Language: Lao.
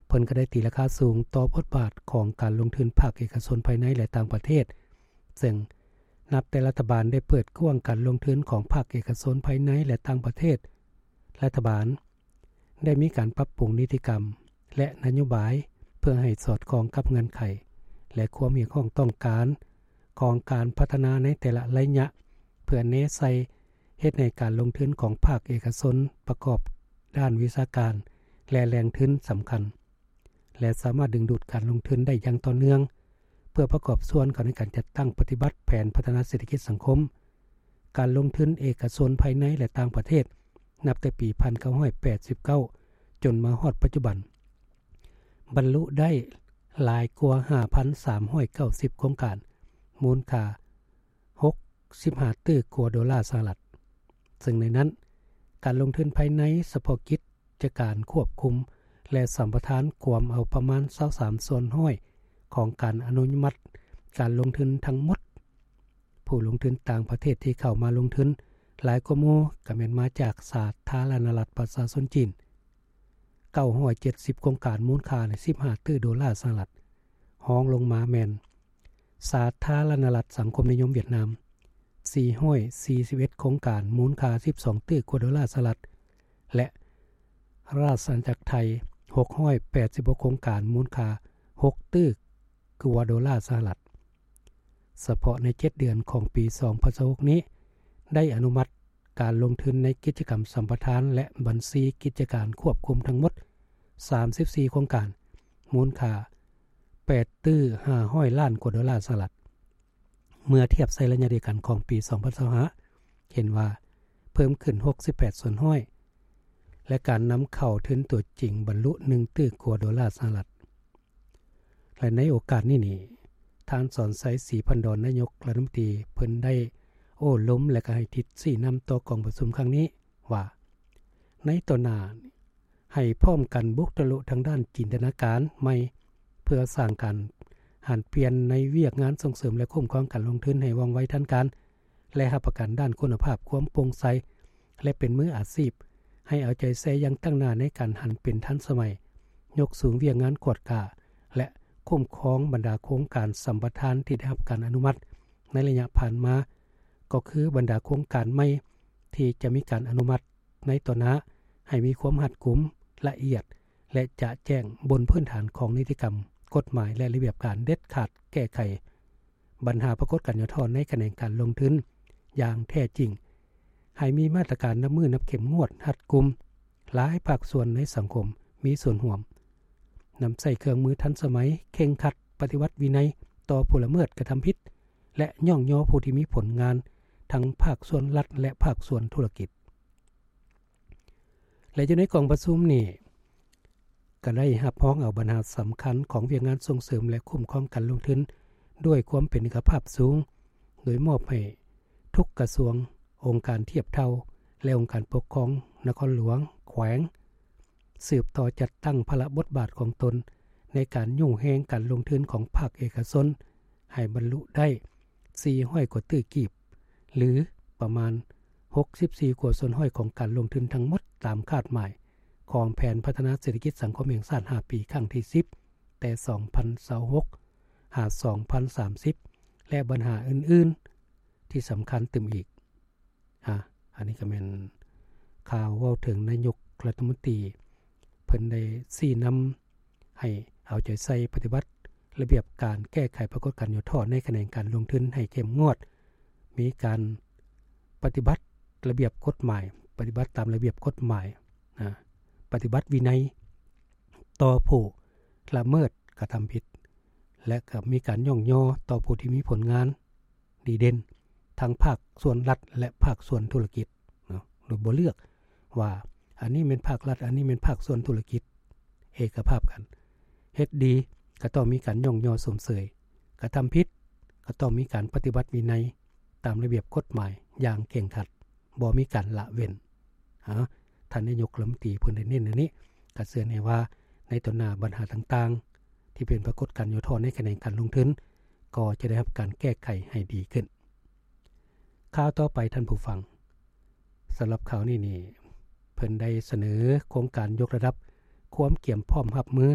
ເພິ່ນກໍໄດ້ຕີລາຄາສູງຕໍ່ບົດບາດຂອງການລົງທຶນພາກເອກະຊົນພາຍໃນ ແລະ ຕ່າງປະເທດ, ເຊິ່ງນັບແຕ່ລັດຖະບານໄດ້ເປີດກວ້າງການລົງທຶນຂອງພາກເອກະຊົນພາຍໃນ ແລະ ຕ່າງປະເທດ, ລັດຖະບານໄດ້ມີການປັບປຸງນິຕິກຳ ແລະ ນະໂຍບາຍ ເພື່ອໃຫ້ສອດຄ່ອງກັບເງື່ອນໄຂ ແລະ ຄວາມຮຽກຮ້ອງຕ້ອງການຂອງການພັດທະນາໃນແຕ່ລະໄລຍະ ເພື່ອແນໃສ່ເຮັດໃຫ້ການລົງທຶນຂອງພາກເອກະຊົນປະກອບດ້ານວິຊາການ ແລະ ແຫຼ່ງທຶນສຳຄັນ ແລະ ສາມາດດຶງດູດການລົງທຶນໄດ້ຢ່າງຕໍ່ເນື່ອງ ເພື່ອປະກອບສ່ວນເຂົ້າໃນການຈັດຕັ້ງປະຕິບັດແຜນພັດທະນາເສດຖະກິດສັງຄົມ, ການລົງທຶນເອກະຊົນພາຍໃນ ແລະ ຕ່າງປະເທດ ນັບແຕ່ປີພັນເກົ້າຮ້ອຍແປດສິບເກົ້າ ຈົນມາຮອດປັດຈຸບັນ ບັນລຸໄດ້ຫຼາຍກວ່າຫ້າພັນສາມຮ້ອຍເກົ້າສິບໂຄງການ ມູນຄ່າຫົກສິບຫ້າຕື້ກວ່າໂດລາສະຫະລັດ, ເຊິ່ງໃນນັ້ນ ການລົງທຶນພາຍໃນສະເພາະກິດຈະການຄວບຄຸມ ແລະ ສຳປະທານກວມເອົາປະມານຊາວສາມສ່ວນຮ້ອຍຂອງການອະນຸມັດການລົງທຶນທັງໝົດ. ຜູ້ລົງທຶນຕ່າງປະເທດທີ່ເຂົ້າມາລົງທຶນຫຼາຍກວ່າໝູ່ກໍແມ່ນມາຈາກສາທາລະນະລັດປະຊາຊົນຈີນ ເກົ້າຮ້ອຍເຈັດສິບໂຄງການ ມູນຄ່າສິບຫ້າຕື້ໂດລາສະຫະລັດ, ຮອງລົງມາແມ່ນສາທາລະນະລັດສັງຄົມນິຍົມຫວຽດນາມ ສີ່ຮ້ອຍສີ່ສິບເອັດໂຄງການ ມູນຄ່າສິບສອງຕື້ກວ່າໂດລາສະຫະລັດ ແລະ ລາຊະອານາຈັກໄທ ຫົກຮ້ອຍແປດສິບຫົກໂຄງການ ມູນຄ່າຫົກຕື້ກວ່າໂດລາສະຫະລັດ. ສະເພາະໃນເຈັດເດືອນຂອງປີສອງພັນຊາວຫົກນີ້ ໄດ້ອະນຸມັດການລົງທຶນໃນກິດຈະກຳສຳປະທານ ແລະ ບັນຊີກິດຈະການຄວບຄຸມທັງໝົດສາມສິບສີ່ໂຄງການ ມູນຄ່າແປດຕື້ຫ້າຮ້ອຍລ້ານກວ່າໂດລາສະຫະລັດ. ເມື່ອທຽບໃສ່ໄລຍະດຽວກັນຂອງປີສອງພັນຊາວຫ້າ ເຫັນວ່າເພີ່ມຂຶ້ນຫົກສິບແປດສ່ວນຮ້ອຍ ແລະ ການນຳເຂົ້າທຶນຕົວຈິງບັນລຸໜຶ່ງຕື້ກວ່າໂດລາສະຫະລັດ. ແລະ ໃນໂອກາດນີ້ນີ້ ທ່ານ ສອນໄຊ ສີພັນດອນ ນາຍົກລັດຖະມົນຕີ ເພິ່ນໄດ້ໂອ້ລົມ ແລະ ກໍໃຫ້ທິດຊີ້ນຳຕໍ່ກອງປະຊຸມຄັ້ງນີ້ວ່າ ໃນຕໍ່ໜ້າ ໃຫ້ພ້ອມກັນບຸກທະລຸທາງດ້ານຈິນຕະນາການໃໝ່ ເພື່ອສ້າງການຫັນປ່ຽນໃນວຽກງານສົ່ງເສີມ ແລະ ຄຸ້ມຄອງການລົງທຶນໃຫ້ວ່ອງໄວທັນການ ແລະ ຮັບປະກັນດ້ານຄຸນນະພາບ, ຄວາມໂປ່ງໃສ ແລະ ເປັນມືອາຊີບ, ໃຫ້ເອົາໃຈໃສ່ຢ່າງຕັ້ງໜ້າໃນການຫັນເປັນທັນສະໄໝ, ຍົກສູງວຽກງານກວດກາ ແລະ ຄຸ້ມຄອງບັນດາໂຄງການສຳປະທານທີ່ໄດ້ຮັບການອະນຸມັດໃນໄລຍະຜ່ານມາ, ກໍຄືບັນດາໂຄງການໃໝ່ທີ່ຈະມີການອະນຸມັດ ໃນຕໍ່ໜ້າໃຫ້ມີຄວາມຮັດກຸມ, ລະອຽດ ແລະ ຈະແຈ້ງບົນພື້ນຖານຂອງນິຕິກຳ, ກົດໝາຍ ແລະ ລະບຽບການເດັດຂາດແກ້ໄຂບັນຫາປາກົດການຫຍໍ້ທໍ້ໃນຂະແໜງການລົງທຶນຢ່າງແທ້ຈິງ, ໃຫ້ມີມາດຕະການນັບມື້ນັບເຂັ້ມງວດ, ຮັດກຸມ, ຫຼາຍພາກສ່ວນໃນສັງຄົມມີສ່ວນຮ່ວມ, ນຳໃຊ້ເຄື່ອງມືທັນສະໄໝ, ເຄັ່ງຄັດ, ປະຕິບັດວິໄນຕໍ່ຜູ້ລະເມີດກະທຳຜິດ ແລະ ຍ້ອງຍໍຜູ້ທີ່ມີຜົນງານທັງພາກສ່ວນລັດ ແລະ ພາກສ່ວນທຸລະກິດ. ແລະ ຢູ່ໃນກອງປະຊຸມນີ້ ກໍໄດ້ຮັບຮອງເອົາບັນຫາສຳຄັນຂອງວຽກງານສົ່ງເສີມ ແລະ ຄຸ້ມຄອງການລົງທຶນດ້ວຍຄວາມເປັນເອກະພາບສູງ, ໂດຍມອບໃຫ້ທຸກກະຊວງ, ອົງການທຽບເທົ່າ ແລະ ອົງການປົກຄອງນະຄອນຫຼວງ, ແຂວງ ສືບຕໍ່ຈັດຕັ້ງພາລະບົດບາດຂອງຕົນໃນການຍູ້ແຮງການລົງທຶນຂອງພາກເອກະຊົນ ໃຫ້ບັນລຸໄດ້ສີ່ຮ້ອຍກວ່າຕື້ກີບ ຫຼື ປະມານຫົກສິບສີ່ກວ່າສ່ວນຮ້ອຍຂອງການລົງທຶນທັງໝົດຕາມຄາດໝາຍຂອງແຜນພັດທະນາເສດຖະກິດສັງຄົມແຫ່ງຊາດຫ້າປີຄັ້ງທີສິບ ແຕ່ສອງພັນຊາວຫົກຫາສອງພັນສາມສິບ ແລະ ບັນຫາອື່ນໆທີ່ສຳຄັນຕື່ມອີກ. ອາ ອັນນີ້ກໍແມ່ນຂ່າວເວົ້າເຖິງນາຍົກລັດຖະມົນຕີ ເພິ່ນໄດ້ຊີ້ນຳໃຫ້ເອົາໃຈໃສ່ປະຕິບັດລະບຽບການແກ້ໄຂປາກົດການຫຍໍ້ທໍ້ໃນຂະແໜງການລົງທຶນໃຫ້ເຂັ້ມງວດ, ມີການປະຕິບັດລະບຽບກົດໝາຍ, ປະຕິບັດຕາມລະບຽບກົດໝາຍ, ອາ ປະຕິບັດວິໄນຕໍ່ຜູ້ລະເມີດກະທຳຜິດ ແລະ ກໍມີການຍ້ອງຍໍຕໍ່ຜູ້ທີ່ມີຜົນງານ ດີເດັ່ນທັງພາກສ່ວນລັດ ແລະ ພາກສ່ວນທຸລະກິດເນາະ ໂດຍບໍ່ເລືອກວ່າອັນນີ້ແມ່ນພາກລັດ ອັນນີ້ແມ່ນພາກສ່ວນທຸລະກິດ ເອກະພາບກັນ. ເຮັດດີກໍຕ້ອງມີການຍ້ອງຍໍຊົມເຊີຍ, ກະທຳຜິດກໍຕ້ອງມີການປະຕິບັດວິໄນຕາມລະບຽບກົດໝາຍຢ່າງເຄັ່ງຄັດ, ບໍ່ມີການລະເວັ້ນ. ອາ ທ່ານນາຍົກລັດຖະມົນຕີເພິ່ນໄດ້ເນັ້ນອັນນີ້ ກໍເຊື່ອແນ່ວ່າໃນຕໍ່ໜ້າບັນຫາຕ່າງໆ ທີ່ເປັນປາກົດການຫຍໍ້ທໍ້ໃນຂະແໜງການລົງທຶນ ກໍຈະໄດ້ຮັບການແກ້ໄຂໃຫ້ດີຂຶ້ນ. ຂ່າວຕໍ່ໄປທ່ານຜູ້ຟັງ, ສຳລັບຂ່າວນີ້ນີ້ ເພິ່ນໄດ້ສະເໜີໂຄງການຍົກລະດັບຄວາມກຽມພ້ອມຮັບມື